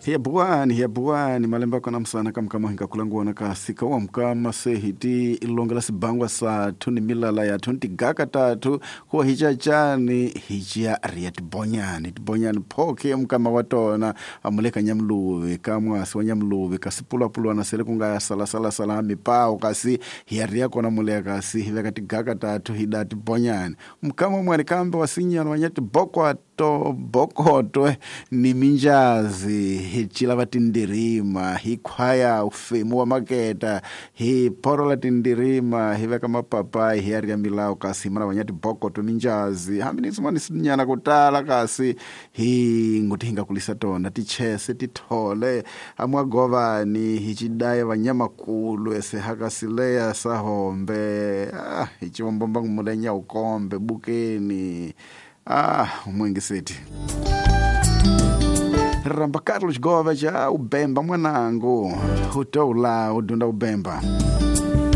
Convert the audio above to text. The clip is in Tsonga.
Hiya buwani, hiya buwani, malembe kona msana kamkama hingakulanguwana kasi kawa mkama se hiti ilongela sibangwa sa thuni milala ya thuni tigaka tathu kuwa hichachani hichiya riya tibonyani tibonyani phoke mkama wa tona amuleka nyamluvi ka mwasi wa nyamluvi kasi pulwapulwana sele kunga salasalasala mipawo kasi hiya riya kona muleka kasi hiveka tigaka tathu hida tibonyani mkama mwani kambe wasinyana wanya tibokwato bokotwe ni minjazi hi cila va tindirima hi khwaya ufemu wa maketa hi phorola tindirima hi veka mapapayi hi ya riya milawu kasi hi mana vanya tibokotwe minjazi hambi ni swin'wana swinyana ku tala kasi hi ngoti hi nga kulisa tona tichese tithole amwagovani hi cidaya vanyamakulu ese hakasileya sahombe ah, hi civombomba ngumulenya ukombe bukeni ah umwengiseti ramba Carlos Gova ja ubemba mwanangu utoula udunda ubemba.